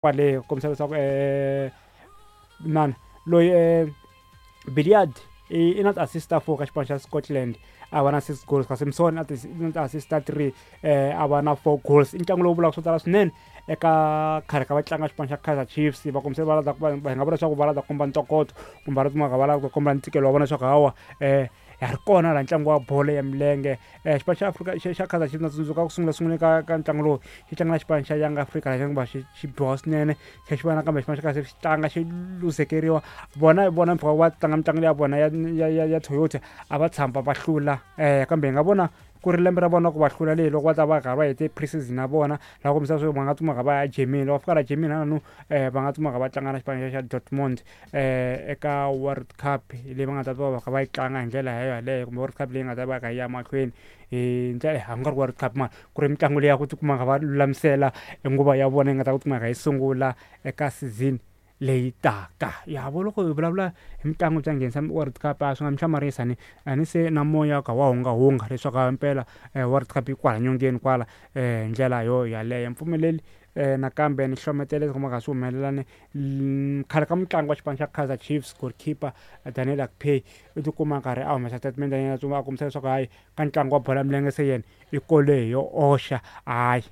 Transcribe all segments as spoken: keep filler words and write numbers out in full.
Kwale ku kombisa leswaku nani loyi Billiat i na ti-assist ta four ka xipano xa Scotland, a va na six goals, kasi Msoon na ti-assist ta three, a va na four goals. I ntlangu lowu vulaka swo tala swinene eka khale ka vatlanga xipano xa Kaizer Chiefs. Va kombisa va lava va hi nga vula leswaku va lava ku komba ntokoto kumbe va lava va lava ku komba ntikelo wa vona leswaku hawa um ha ri kona laha ntlangu wa bolo ya milenge. Xipano xa Afrika xa xa Kaizer Chiefs na tsundzuka ku sungula sunguleni ka ka ntlangu lowu xi tlanga na xipano xa Young Africa laha xi xi xi biwa swinene, xi xi vona kambe xipano xa Kaizer Chiefs xi tlanga xi luzekeriwa. Vona vona mpfhuka va tlanga mitlangu ya vona ya ya ya ya Toyota a va tshama va hlula, um kambe hi nga vona ku ri lembe ra vona ku va hlula leyi loko va ta va karhi va hete pre-season ya vona, laha kombisa leswaku va nga tsumaka va ya Germany. Loko va fika la Germany halano um va nga tsumaka va tlanga na xipano xa Dortmund um eka World Cup leyi va nga ta va va kha va yi tlanga hi ndlela yaleyo, kumbe World Cup leyi nga ta va kha yi ya mahlweni hi ndlela a ku nga ri World Cup mara ku ri mitlangu leyi ya ku tikuma kha va lulamisela nguva ya vona yi nga ta ku kumeka yi sungula eka season leyi taka. Ya vo loko hi vulavula hi mitlangu bya nghenisa World Cup a swi nga mi hlamarisa ni a ni se na moya kha wa hungahunga leswaku himpela World Cup yi kwala nyongeni kwala hi ndlela yo yaleyo. Mpfumeleli nakambe ni hlometela leswi kumaka swi humelela ni khale ka mutlangi wa xipano xa Kaizer Chiefs goalkeeper Daniel Akpeyi u tikuma a karhi a humesa statement ya yena a kombisa leswaku hayi ka ntlangu wa bolo ya milenge se yena i kole yo oxa, hayi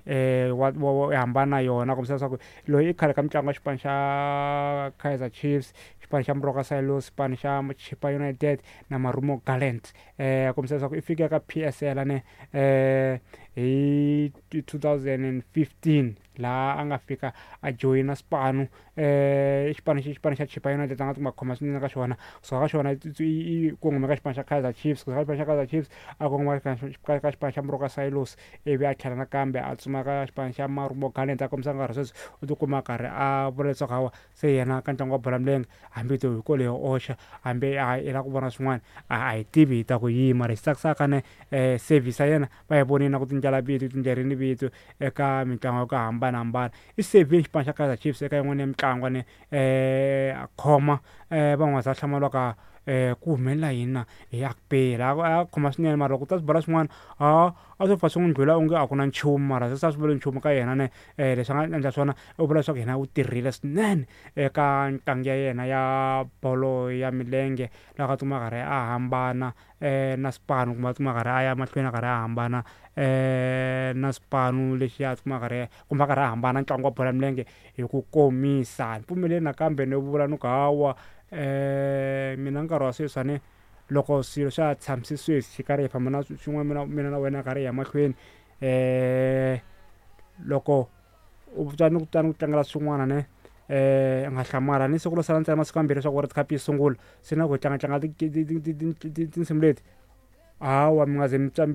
wa wa hambana na yona. Kombisa leswaku loyi i khale ka mutlangi wa xipano xa Kaizer Chiefs, xipano xa Moroka Swallows, xipano xa Chippa United na Marumo Gallants, um kombisa leswaku i fike ka P S L ne um hi two thousand and fifteen laha a nga fika a joyina xipano um xipano xipano xa Chippa United a nga tikuma a khoma swinene ka xona. Kusuka ka xona i kongome ka xipano xa Kaizer Chiefs, kusuka ka xipano xa Kaizer Chiefs a kongoma ka ka xipano xa Moroka Swallows, ivi a tlhela nakambe a tsuma ka xipano xa Marumo Gallants. A kombisa nkarhi sweswi u tikuma a karhi a vula leswaku hawa se yena ka ntlangu wa bolo ya milenge hambi to hi kole yo oxa, hambi a i lava ku vona swin'wana a hi tivi hi ta ku yima. Lexi tsakisaka ne um service ya yena va yi vonile na ku tindlela vito tindlerini vito eka mitlangu ya ku hambanahambana. I sevhile xipano xa Kaizer Chiefs eka yin'wana ya mitlangu ne um a khoma um van'wana va hlamuriwa um ku humelela yini na hi Akpeyi laha a khoma swinene, mara loko u ta swi bola swin'wana a a swo pfa swi n'wi ndlhula onge a ku na nchumu, mara se a swi vuli nchumu ka yena ne um leswi a nga endla swona u vula leswaku yena u tirhile swinene eka ntlangu ya yena ya bolo ya milenge laha a tikuma a karhi a hambana um na xipano kumbe a tikuma a karhi a ya mahlweni a karhi a hambana um na xipano lexi a tikuma a karhi kumbe a karhi a hambana ntlangu wa bolo ya milenge hi ku komisa. Ni pfumeleli nakambe ni vula ni ku hawa um mina nkarhi wa sweswi a ni loko swilo swa ha tshamise sweswi xi karhi hi famba na swin'wana mina mina na wena karhi hi ya mahlweni um loko u twa ni ku twa ni ku tlangela swin'wana ne um nga hlamala ni siku ro sala ntsena masiku mambirhi leswaku World Cup yi sungula, se na ku hi tlanga tlanga tinsimu leti hawa mi nga ze mi twa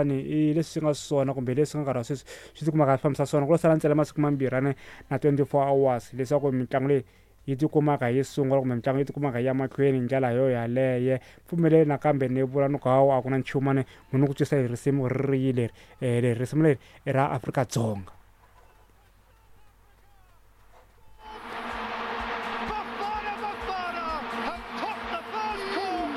ni i leswi swi nga swona kumbe leswi nga nkarhi wa sweswi swi tikumaka swi fambisa swona. Ku lo sala ntsena masiku mambirhi ne na twenty four hours leswaku mitlangu leyi yi tikumaka yi sungula kumbe mitlangu yi tikumaka yi ya mahlweni hi ndlela yo yaleyo. Pfumeleli nakambe ni vula ni ku hawa a ku na nchumu ne munhu ku twisa hi risimu ri ri leri leri risimu leri i ra Afrika-Dzonga.